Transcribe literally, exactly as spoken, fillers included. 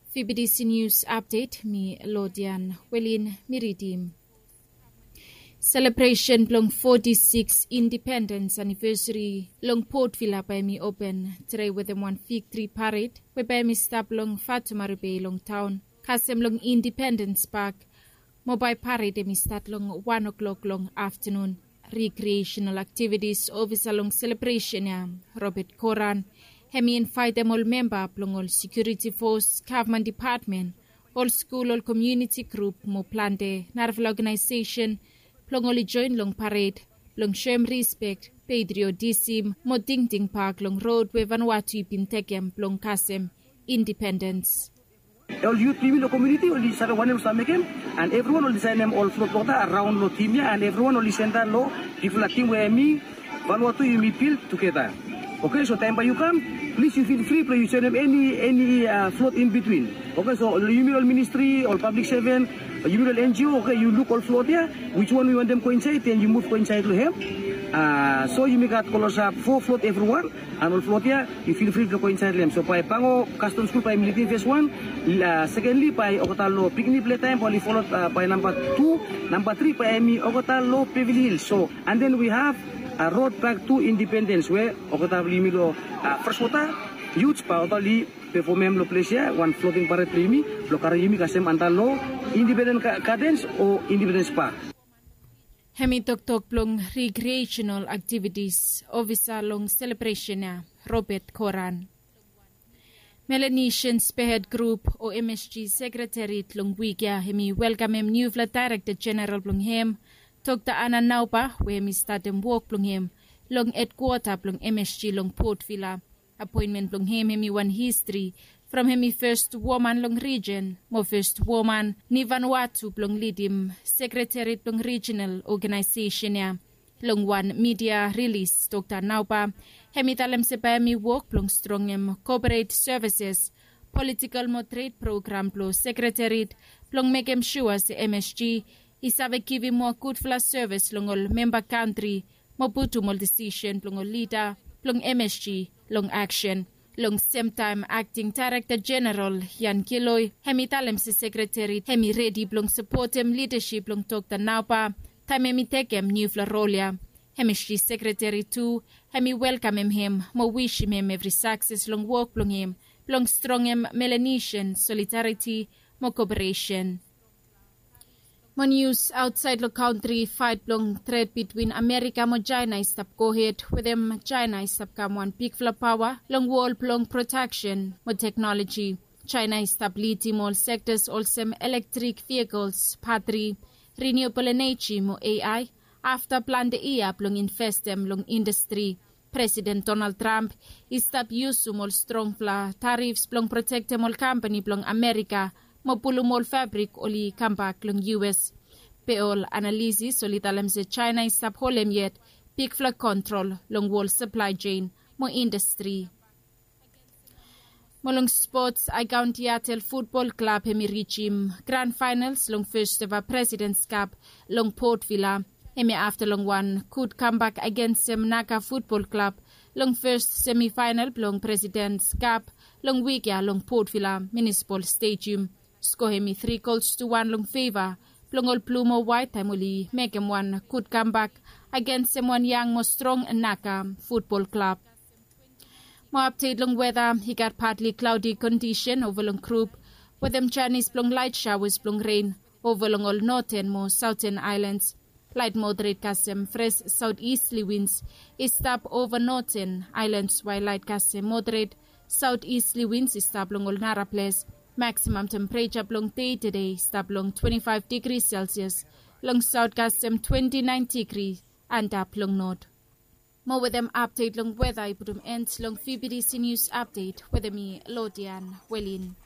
Fibidisi nius apdet mi lodian welin mi ridim. Selebresen blong foti siks indipendens anivesari long potvila bae mi open tede wetem wan fiktri pared we bae mi stap long fatumari bei long taon kasem long indipendens pak. Mo bae pared em i stat long wan oklok long aftanun. Rikrieshenal aktivitis ofisa long selebresen ya, robet koran, hem i invaetem ol memba blong ol sekiuriti fos, gavman depatmen, ol skul, ol komiuniti grup mo plante narafala ogenaesesen blong oli joen long pared blong soem rispek, petriotisim mo tingting pak long rod we vanwatu i bin tekem blong kasem indipendens. Ol yut blong yumi long komiuniti oli save wanem oli save mekem, and evriwan oli saenem ol flot wota araon long tim ya, and evriwan oli senda long bigfala tim we mi vanwatu yumi bil tugeta. Oke, so taem bae yu kam, plis yu fil fri blong yu joenem eni eni flot in bitwin. Oke, so yumi long ministri ol pablik seven, yumi long NGO, oke, yu luk ol flot ya, wiswan yu wantem go insaed den yu muv go insaed long hem. So yumi gat klosap fo flot evriwan. And ol flot ya yu fil fri blong go insaed long hem. So bae bango kastom skul bae em i lidim fes wan. Sekenli bae olgeta long pikinini pletaem bae oli folod bae namba tu. Namba tri bae em i olgeta long pevili hil. So and den wi hav rod bak tu indipendens we olgeta blong yumi long freswota yuts bae olgeta oli pefomem long ples ya wan floting pared blong yumi blong karem yumi kasem antap long indipendens gadens o indipendens pak. Hem i toktok blong rikrieshenal aktivitis ofisa long selebresen ya, robet koran. Melanesian spehed grup o msg sekreteri long wik ya hem i welkamem niufala daerekta jeneral blong hem, dr ana nauba, we hem i statem wok blong hem long edkwota blong msg long potvila. Apoenmen blong hem hem i wan histri from hem i fes woman long rijen mo fes woman nivanwatu blong lidim sekreteri blong rijinal ogenaesesen ya. Long wan midia rilis dr nauba hem i talem se bae hem i wok blong strongem koporet sevises, politikal mo tred program blong sekreteri blong mekem sua se msg i save givim moa gudfala sevis long ol memba kantri mo putum ol disisen blong ol lida blong msg long aksen. Long semtaem akting daerekta jeneral jan kiloi hem i talem se sekreteri hem i redi blong sapotem lidasip blong dr nauba taem hem i tekem niufala rol ya. Msg sekreteri tu hem i welkamem hem mo wisim hem evri sakses long wok blong hem blong strongem melanesian solidariti mo koperesen. Mo nius aotsaed long kantri, faet blong tred bitwin amerika mo jaena i stap gohed wetem jaena i stap kam wan bigfala paoa long wol blong proteksen mo teknoloji. Jaena i stap lidim ol sektas olsem elektrik vihikels, patri, riniubol eneji mo ai afta plante yia blong investem long indastri. Presiden donald tramp i stap yusum ol strongfala tarifs blong protektem ol kampani blong amerika mo pulum ol fabrik oli kambak long us. Be ol analisis oli talem se jaena i stap holem yet bigfala kontrol long wol saplae jen mo indastri. Mo long spots, aikaon tiatel futbol klab hem i rijim gran faenals long fes eva presidens kap long potvila. Hem i afta long wan gud kambak agensem naga futbol klab long fes semifaenal blong presidens kap long wik ya long potvila munisipol stedium. Sko hem i tri gols tu wan long feva blong ol blu mo waet taem oli mekem wan gud kambak agensem wan yang mo strong naga futbol klab. Mo apdet long weta, i gat patli klaodi kondisen ova long grup wetem janis blong laet saoas blong ren ova long ol noten mo saoten aelans. Laet moderet kasem fres saotisli wins i stap ova noten aelans wael laet kasem moderet saotisli wins i stap long ol naraples. Maksimam tempereja blong dei tede i stap long twenti faef digri selsias long saot kasem twenti naen digri antap long not. Mo wetem apdet long weta i putum en long fibidisi nius apdet wetem mi lodian welin.